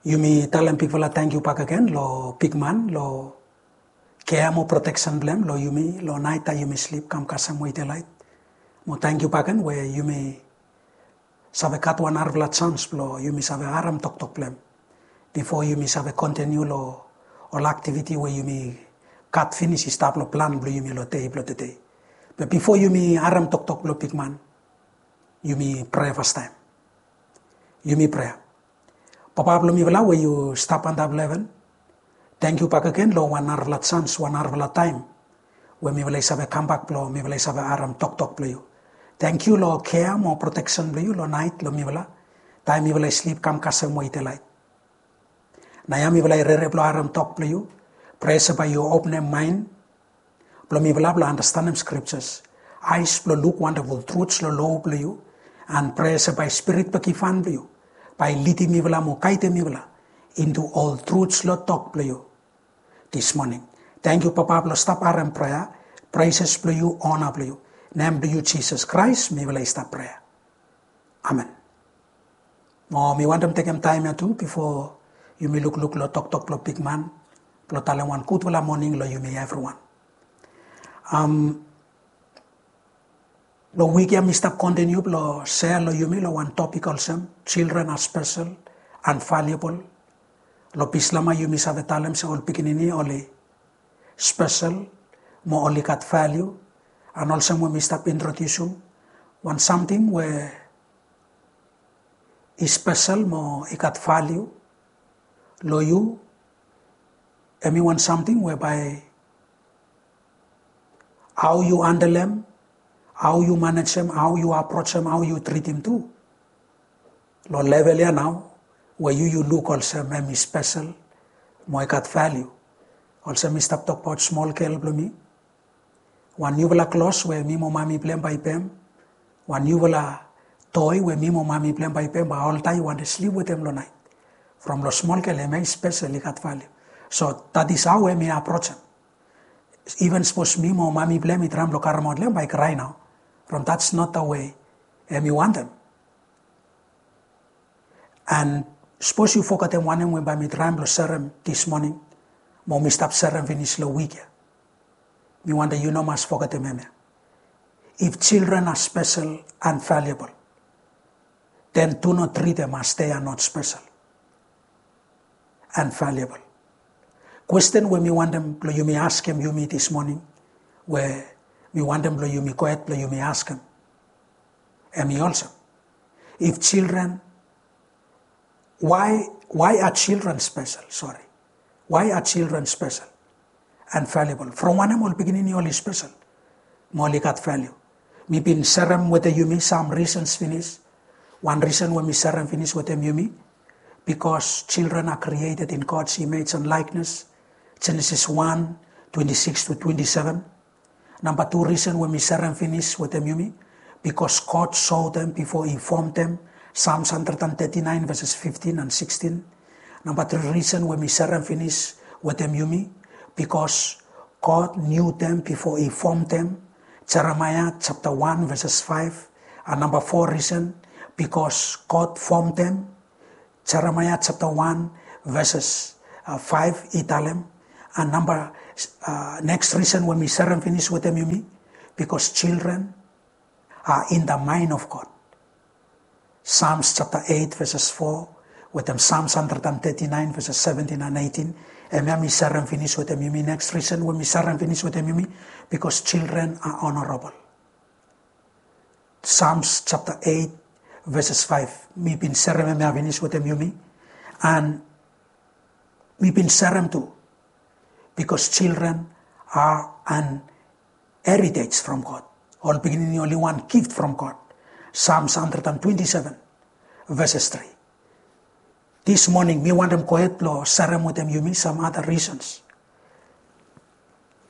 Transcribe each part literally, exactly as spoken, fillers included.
Yumi talem bigfala tangkiu bakegen lo bigman lo kea mo proteksen blong em lo yumi lo naet taem yumi slip kam kasem we i delaet. Mo tangkiu bakegen we yumi save gat wan narafala jans blong yumi save harem toktok blong em bifo yumi save kontiniu lo ol aktiviti we yumi gat finis i stap lo plan blong yumi lo dei blong tede. Be bifo yumi harem toktok blong bigman, yumi prea fastaem. Yumi prea. Papa blong mifala we yu stap antap lo heven, tangkiu bakegen lo wan narafala jans, wan narafala taem we mifala i save kambak blong mifala i save harem toktok blong yu. Tangkiu lo kea mo proteksen blong yu lo naet lo mifala taem mifala i slip kam kasem we i delaet. Naoia mifala i rere blong harem tok blong yu. Prea se bae yu openem maen blong mifala blong andastanem skriptas, aes blong luk wandaful truts lo lo blong yu. An prea se bae Spirit blong givhan blong yu bae i lidim mifala mo gaedem mifala intu ol truts lo tok blong yu dismoning. Tangkiu Papa blong stap harem prea, preses blong yu, ona blong yu. Nem blong yu Jisas Kraes mifala i stap prea. Amen. Mo mi wantem tekem taem ya tu bifo yumi lukluk lo toktok blong bigman blong talem wan gudfala moning lo yumi evriwan. Am, lo wik ya mi stap kontiniu blong sea lo yumi lo wan topik olsem children are special and valuable. Lo Bislama yumi save talem se ol pikinini oli spesel mo oli gat valiu. An olsem we mi stap introdiusim wan samting we i spesel mo i gat valiu lo yu, hemi wan samting we bae hao yu handlem, hao yu manejem, hao yu aprojem, hao yu tritim tu. Lo level ya nao we yu yu luk olsem hemi spesel mo i gat valiu. Olsem mi stap tokbaot smol gel blong mi, wan niufala klos we mi mo mami blong hem bae i pem, wan niufala toi we mi mo mami blong hem bae i pem, bae oltaem i wantem slip wetem lo naet. From lo smol gel hemia i spesel, i gat valiu. So that is hao hemi aprojem. Even sapos mi mo mami blong hem i traem blong karemaot long hem, bae i krae nao. From that's not the way hemi wantem. An sapos yu fogetem wanem we bae mi traem blong serem dismoning mo mi stap serem finis lo wik ya, mi wantem yu no mas fogetem hemia. If children are special and valuable, then do not treat them as they are not special and valuable. Kwesten we mi wantem blong yumi askem yumi dismoning, we mi wantem blong yumi gohed blong yumi askem, hemi olsem, if children, why, why are children special? Sorry. Why are children special and valuable? From wanem ol pikinini oli spesel mo oli gat valiu? Mi bin serem wetem yumi sam risens finis. Wan risen we mi serem finis wetem yumi, because children are created in God's image and likeness. Genesis one, twenty-six to twenty-seven. Namba tu risen we mi serem finis wetem yumi, because God saw them before he formed them. Psalms hundred and thirty-nine verses fifteen and sixteen. Namba tri risen we mi serem finis wetem yumi, because God knew them before he formed them. Jeremiah chapter one verses five. And namba fo risen, because God formed them. Jeremiah chapter one verses, uh, five i talem. And namba, uh, neks risen we mi serem finis wetem yumi, because children are in the mind of God. Psalms chapter eight verses four, wetem Psalms hundred and thirty-nine verses seventeen and eighteen. Hemia mi serem finis wetem yumi. Neks risen we mi serem finis wetem yumi, because children are honorable. Psalms chapter eight verses five. Mi bin serem hemia finis wetem yumi. And mi bin serem tu, because children are an heritage from God. Ol pikinini oli wan gift from God. Psalms hundred and twenty-seven verses three. Dismoning mi wantem gohed blong serem wetem yumi sam other reasons.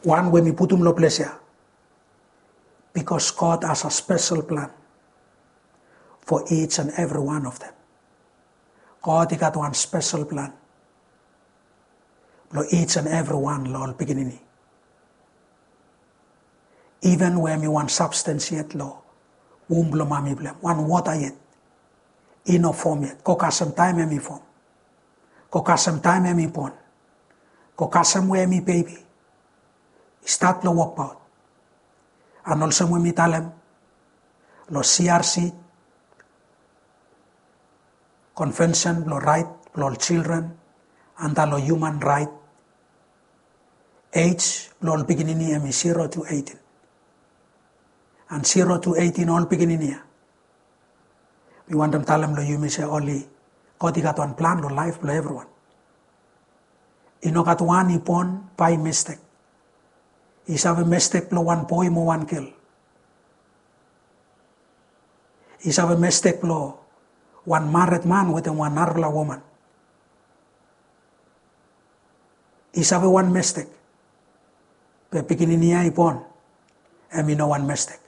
Wan we mi putum lo ples ya, because God has a special plan for each and every one of them. God i gat wan spesel plan lo each and every wan lo ol pikinini. Even we hemi wan substance yet lo wum blo mami blo hem, wan wota yet, i no fom yet, go kasem taem hemi fom. Go kasem taem hem i bon. Go kasem we hem i bebi i stat blong wokbaot. An olsem we mi talem long C R C, Konvensen blong Raet blong ol Jildren anda long Hiuman Raet, ej blong ol pikinini hem i zero tu eighteen. An zero tu eighteen ol pikinini ya, mi wantem talem long yumi se oli, God i gat wan plan long laef blong evriwan. I no gat wan i bon bae mistek. I save mistek blong wan boe mo wan gel. I save mistek blong wan mared man wetem wan narafala woman. I save wan mistek. Be pikinini ya i bon, hem i no wan mistek.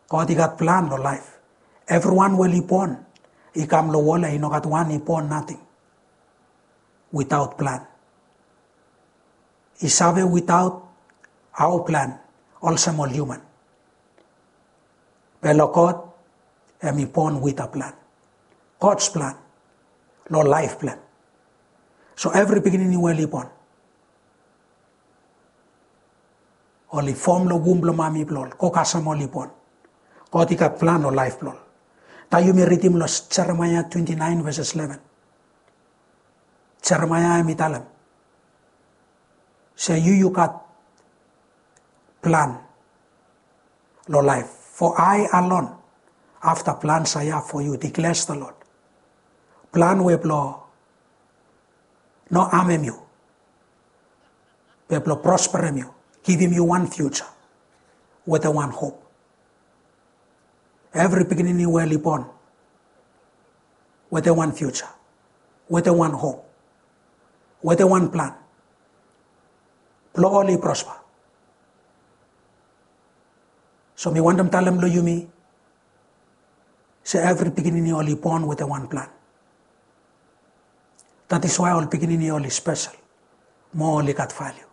God i gat plan long laef. Evriwan we oli bon i kam long wol ya, i no gat wan i bon nating witaot plan. I save witaot hao plan olsem ol hiuman. Be long God, hem i bon wit a plan. God's plan long laef blong hem. So evri pikinini we oli bon, oli fom long wum blong mami blong ol, go kasem oli bon, God i gat plan long laef blong ol. Taem yumi ridim long Jeremaea twenty nine veses eleven. Jeremaea hem i talem se yu yu gat plan long laef. For I alone have the plans I have for you, declares the Lord. Plan we blong no amem yu, be blong prosperem yu, givim yu wan future wetem wan hop. Evri pikinini we oli bon wetem wan future, wetem wan hop, wetem wan plan blong oli prosper. So mi wantem talem long yumi se evri pikinini oli bon wetem wan plan. That is why ol pikinini oli spesel mo oli gat valiu.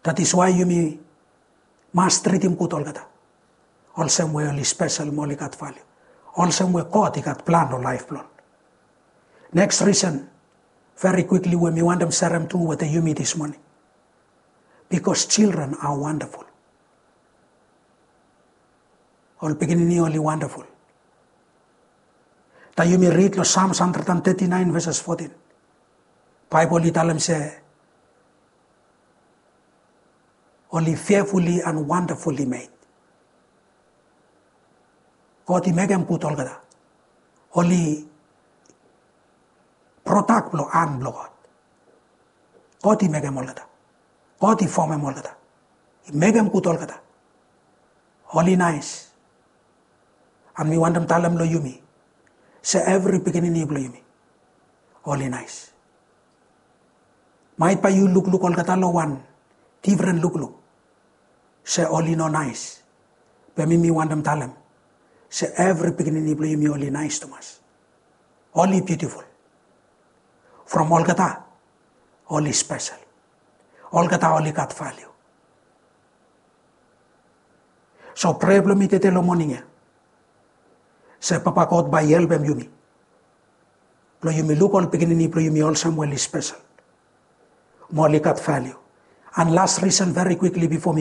That is why yumi mas tritim gud olgeta olsem we oli spesel mo oli gat valiu, olsem we God i gat plan long laef blong ol. Next reason, very quickly, we mi wantem serem tu wetem yumi this morning, because children are wonderful. Ol pikinini oli wonderful. Taem yumi rid long Psalms hundred and thirty nine veses fourteen, Baebol i talem se oli fearfully and wonderfully made. God i mekem gud olgeta. Oli prodak blong han blong God. God i mekem olgeta. God i fomem olgeta. I mekem gud olgeta. Oli naes. An mi wantem talem long yumi se evri pikinini blong yumi oli naes. Maet bae yu lukluk olgeta long wan difren lukluk se oli no naes. Be mi mi wantem talem se evri pikinini blong yumi oli naes tumas. Oli biutiful. From olgeta oli spesel. Olgeta oli gat valiu. So prea blong mi tede long moning ya se Papa God bae i helpem yumi blong yumi luk ol pikinini blong yumi olsem we oli spesel mo oli gat valiu. An las risen very quickly bifo mi